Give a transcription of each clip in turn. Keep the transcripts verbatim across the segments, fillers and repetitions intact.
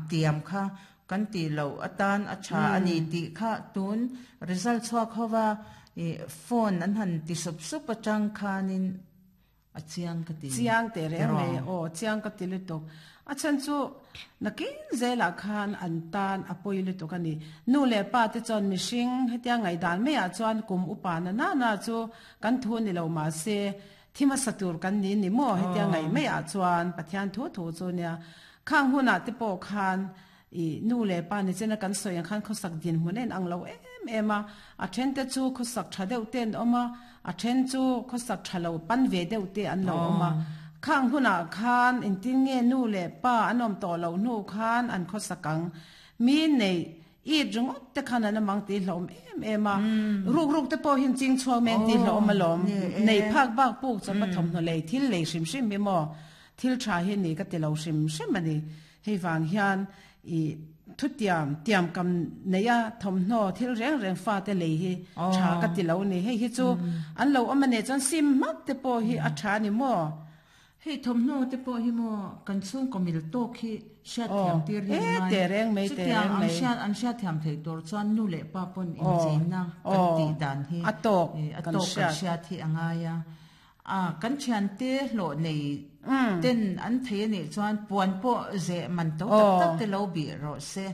tiam kha kan ti lo atan a tha ani ti kha tun result chuak howa e phone an han ti sup sup atang khanin a chiang ka ti chiang te re me o chiang ka ti le tok a chan chu nakin zela khan an tan apoi le tok ani nu le pa te chon mishing hetia ngai dan me a chuan kum upa na na na chu kan thu ni lo ma se thima satur kan ni ni mo hetia ngai me a chuan pathian thu thu chu nia khang huna te po khan i nu le pa ni chena kan soyang khan khosak din hunen ang lo em ema a then te chu khosak tha deuh ten oma a then chu khosak thalo pan ve deuh te an lo oma khang huna khan in tin nge nu le pa anom to lo nu khan an khosakang mi nei i ringot te khan an mang ti hlom em ema ruk ruk te po hin ching chuak men ti hlom alom nei phak bak puk chon ma thom no lei thil lei hrim hrim mi mo thil tha hi ni ka ti lo hrim hrim ani hei wang hian i thu tiam tiam kam neya thom no thil reng reng fa te lei hi tha ka ti lo ni hei hi chu an lo amane chon sim mak te po hi a tha ni mo hei thom no te po hi mo kan chung komil tok hi shat thiam tir hi mai te reng mai te reng mai an an shat thiam thei tur chuan nu le pa pon in chein na kan ti dan hi atok atok kan shat hi angaya a kan thian te hlo nei ten an thei ni chuan puan po ze man to tak tak te lo bi ro se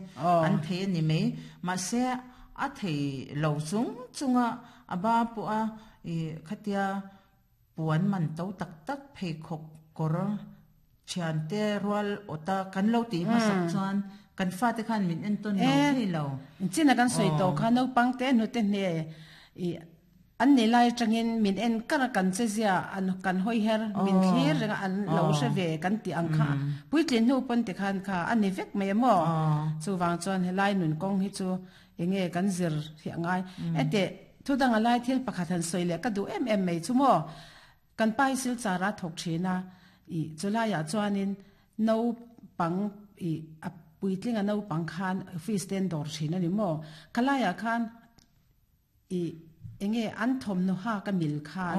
an thei ni mai ma se a thei lo chung chunga aba pu a e khatia puan man to tak tak phei khok kor thian te rual ota kan lo ti ma sak chuan kan fa te khan min en ton lo thei lo china kan soi to kha no pang te nu te ne i an ni lai changin min en kara kan che zia an kan hoi her min thlir renga an lo se ve kan ti ang kha puitlin nu pon te khan kha an ni vek mai mo chu wang chuan helai nun kong hi chu enge kan zir hi angai ete thudang alai thil pakhat han soile ka du em em mai chu mo kan pai sil chara thok thina i chulaya chuanin no pang i a puitling a no pang khan office ten dor thina ni mo khalaya khan i enge an thom no ha ka mil khan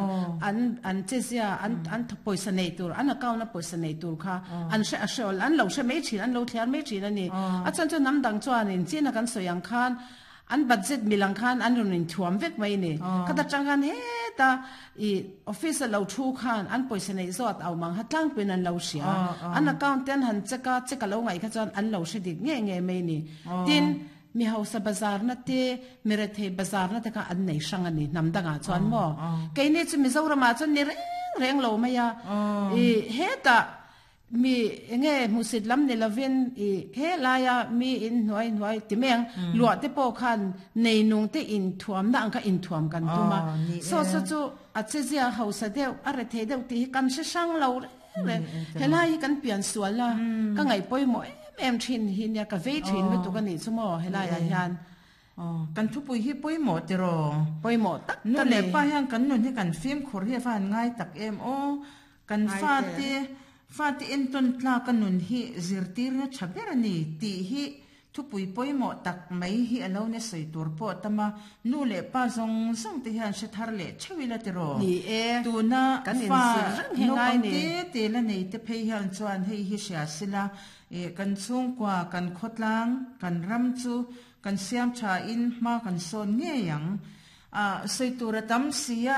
an an chezia an an poisa nei tur an account na poisa nei tur kha an she a shol an lo she mai thin an lo thliar mai thin ani a chan chu nam dang chuan in china kan soyang khan an budget milang khan an run in thuam vek mai ni khata chang he ta i office lo thu khan an poisa nei zot aw mang hatlang pin an lo sia an account ten han cheka cheka lo ngai kha chuan an lo she dik nge nge mai ni tin mi hausa bazar na te mirethe bazar na te ka an nei sang ani namdanga chuan mo keini chu Mizoram a chuan ni reng reng lo maya i heta mi enge musit lam ni lovin i he laya mi in hnuai hnuai ti meng lua te po khan nei nung te in thuam na ang ka in thuam kan tuma so so chu a chezia hausa deuh a rethe deuh ti kan se sang lo reng helai kan pian suala ka ngai poi mo em thin hi nia ka vei thin lu tu ka ni chu mo helai a hian kan thu pui hi pui mo te ro pui mo tak nu le pa hian kan nun hi kan fim khur hi fan ngai tak em o kan fa te fa te en ton tla kan nun hi zirtir na thaber ani ti hi thu pui pui mo tak mai hi alo ne sei tur po tama nu le pa zong zong te hian se thar le chewila te ro ni e tu na kan in fa sir reng he no ngai kan ni te te la nei te phei hian chuan hei hi sia sila e kan chung kwa kan khotlang kan ram chu kan siam tha in ma kan son nge yang a sei tur tam sia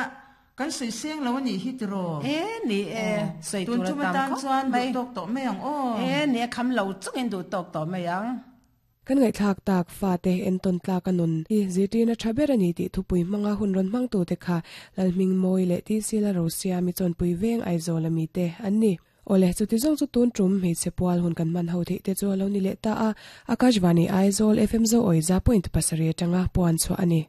kan sei seng lo ni hi tro e ni e sei tun tur chu tam tan kho chuan du mai tok to me ang o e ne kham lo chung in du tok to mai ang kan ngai thak tak fa te en ton tla kanun i ziti na thaber ani ti thupui manga hun ron mang tu te kha lalming moi le ti sila rosia mi chon pui veng Aizawl ami te anni ole chu ti jong chu tun trum hei chepual hun kan man ho the te chu lo ni le ta a Akashvani Aizawl F M zo oiza point pasari tanga puan chu ani.